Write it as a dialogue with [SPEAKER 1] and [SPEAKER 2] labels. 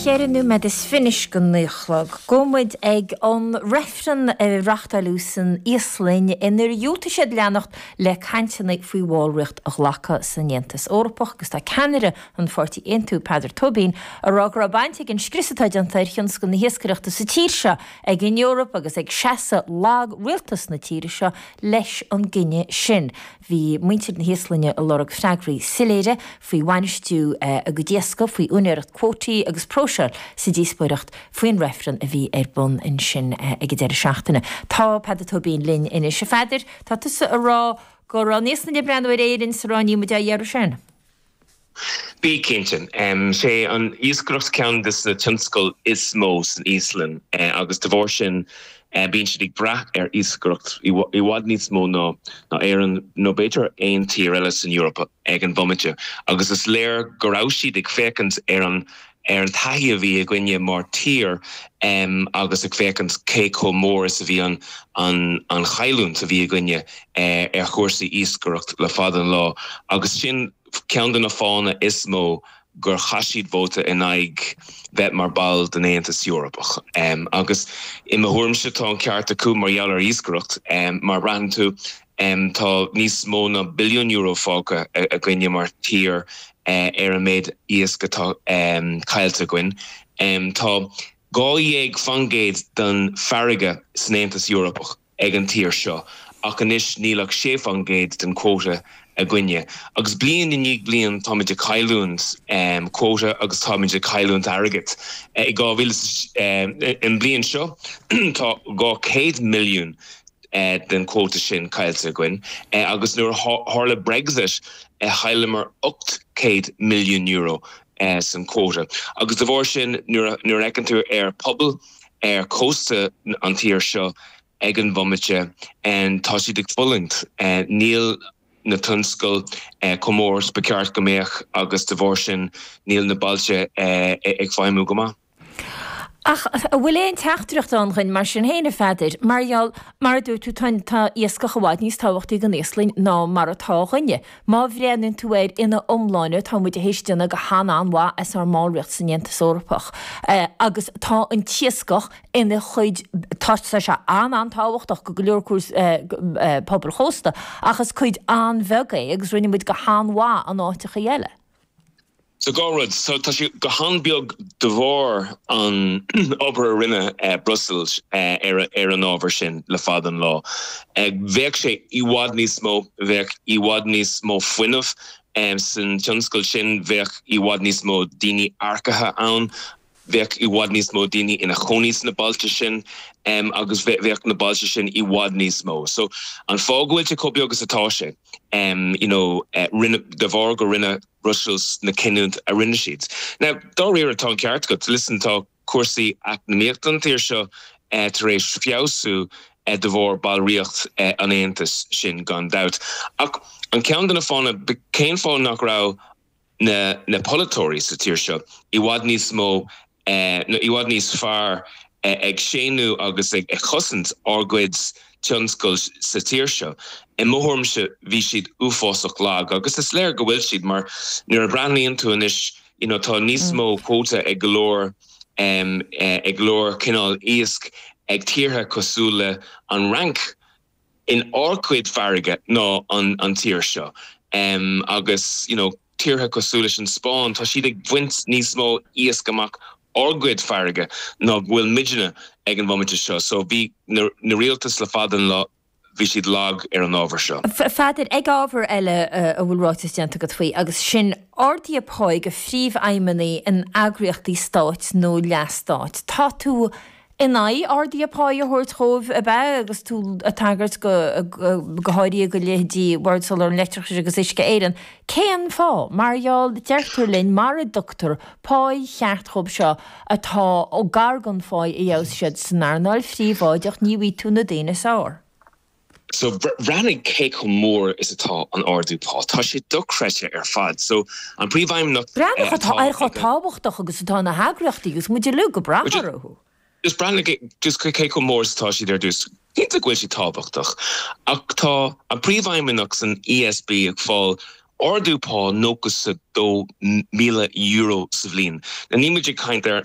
[SPEAKER 1] Ceithre nóiméad is fiche anois go naoi a chlog. Gabhfaidh muid ag an reifreann a reachtáileadh san Íoslainn inar dhiúltaigh siad leanacht le cainteanna faoi bhallraíocht a ghlacadh san Aontas Eorpach agus tá ceannaire an pháirtí Aontú, Peadar Tóibín, ag rá go raibh baint ag an scrios atá déanta ar thionscal na hiascaireachta sa tír seo ag an Eoraip agus ag seasamh lag rialtas na tíre seo leis an gcinneadh sin. Bhí muintir na hÍoslainne ag lorg freagraí soiléire faoi bhainistiú a gcuid iascaigh, faoi úinéireacht cuótaí agus próiseáil sa díospóireacht faoin reifreann a bhí ar bun ansin ag an deireadh seachtaine. Tá Peadar Tóibín linn anois. A Pheadair, tá tusa ag rá go raibh an Íoslainn ag breathnú ar Éirinn is ag rá níl muid á iarraidh sin.
[SPEAKER 2] Bí cinnte. Sé an iascaireacht ceann de na tionscail is mó san Íoslainn agus de bharr sin bíonn siad ag brath ar iascaireacht i bhfad níos mó ná Éirinn nó b'fhéidir aon tír eile san Eoraip ag an bhomaite agus is léir go raibh siad ag féachaint ar an ar an taithí a bhí againne mar tír agus ag féachaint cé chomh mór is a bhí an an chailliúint a bhí againne ar chúrsaí iascaireacht le fada an lá agus sin ceann de na fáthanna is mó gur chaith siad vóta in aghaidh bheith mar ball den Aontas Eorpach. Agus i mo thuairimse tá an ceart acu mar gheall ar iascaireacht mar braitheann tú tá níos mó ná billiún euro fágtha againne mar tír ar an méid iasc atá caillte againn. Tá 12% den farraige san Aontas Eorpach ag an tír seo ach anois níl ach 6% den quota againne. Agus bliain i ndiaidh bliain táimid ag cailliúint quota agus táimid ag cailliúint airgead. I 2000, an bliain seo tá 200 milliún den quota sin caillte againn agus nuair a tharla Brexit chailleamar €800 milliún san quota. Agus de bharr sin nuair a fheiceann tú ar pobal ar chósta an tír seo ag an bhomaite tá siad ag fulaingt. Níl na tionscail chomh mór is ba cheart go mbeadh agus de bharr sin níl na bailte ag feidhmiú go maith.
[SPEAKER 1] Ach an bhfuil aon teachtaireacht ann dhuinn mar sin féin, a Pheadair? Mar gheall, mar a dúirt tú, tá, tá iascach i bhfad níos tábhachtaí don Íoslainn ná mar atá dhuinne. Má bhreathnaíonn tú air ina iomláine, tá muid théis déanamh go han-an-mhaith as ár mballraíocht san Aontas Eorpach. Agus tá an t-iascach ina chuid, tá sé an-an-tábhachtach go go leor cúrsaí, pobail chósta, ach is cuid an-bheag é agus rinne muid go han-mhaith in áiteachaí eile.
[SPEAKER 2] So dhá rud. So tá sé go han-bheag de bharr an obair a rinne Brussels ar an ábhar sin le fada an lá. Bheadh sé i bhfad níos mó, bheadh i bhfad níos mó fuinnimh san tionscal sin, bheadh i bhfad níos mó daoine earcaithe ann, bheadh i bhfad níos mó daoine ina chónaí sna bailte sin agus bheadh na bailte sin i bhfad níos mó. So an fáth go bhfuil sé chomh beag is atá sé, you know, rinne, de bharr go rinne Brussels na cinniúint a rinne siad. Now, dáiríre, tá an ceart agat. Listen, tá cúrsaí eacnamaíochta an tír seo tar éis feabhsú de bharr ballraíocht an Aontais, sin gan dabht. Ach an ceann de na fáthanna, cén fáth nach raibh na na polaiteoirí sa tír seo i bhfad níos mó nó i bhfad níos fearr ag séanadh agus ag cosaint ár gcuid tionscail sa tír seo. I mo thuairimse bhí siad uafásach lag agus is léir go bhfuil siad mar nuair a bhreathnaíonn tú anois you know tá níos mó quota ag go leor ag go leor cineál iasc ag tíortha cosúil le an Fhrainc in ár gcuid farraige ná an tír seo agus you know tíortha cosúil leis an Spáinn tá siad ag baint níos mó iasc amach ár gcuid farraige ná go bhfuil muidne ag an bhomaite seo so bhí na rialtais le fada an lá bhí siad lag ar an ábhar seo.
[SPEAKER 1] A Pheadair, ag ábhar eile a bhfuil ráiteas déanta agat faoi agus sin arduithe páí do phríomhfheidhmeannaigh in eagraíochtaí stáit nó leath-stáit. Tá tú in aghaidh arduithe páí a thabhairt dhóibh, ab ea, agus tú ag tagairt go go háirithe go leithéidí Bhord Soláthair an Leictreachais agus Uisce Éireann. Cén fáth? Mar gheall, deirtear linn, mara dtugtar páí cheart dhóibh seo atá gar don pháí a gheobhas siad san earnáil phríobháideach, ní bhfaighidh tú na daoine is fearr.
[SPEAKER 2] So, breathnaigh cé chomh mór is atá an ardú pá. Tá sé dochreidte ar fad. So, an príomhfheidhmeannach
[SPEAKER 1] Breathnaigh atá ar chomh tábhachtach agus atá na heagraíochtaí agus muid uilig ag brath orthu.
[SPEAKER 2] Just breathnaigh just cé chomh mór is atá siad ar dtús. Cinnte go bhfuil siad tábhachtach, ach tá an príomhfheidhmeannach san ESB ag fáil ardú pá €92,000 sa bhliain. Now, níl muid ag caint ar.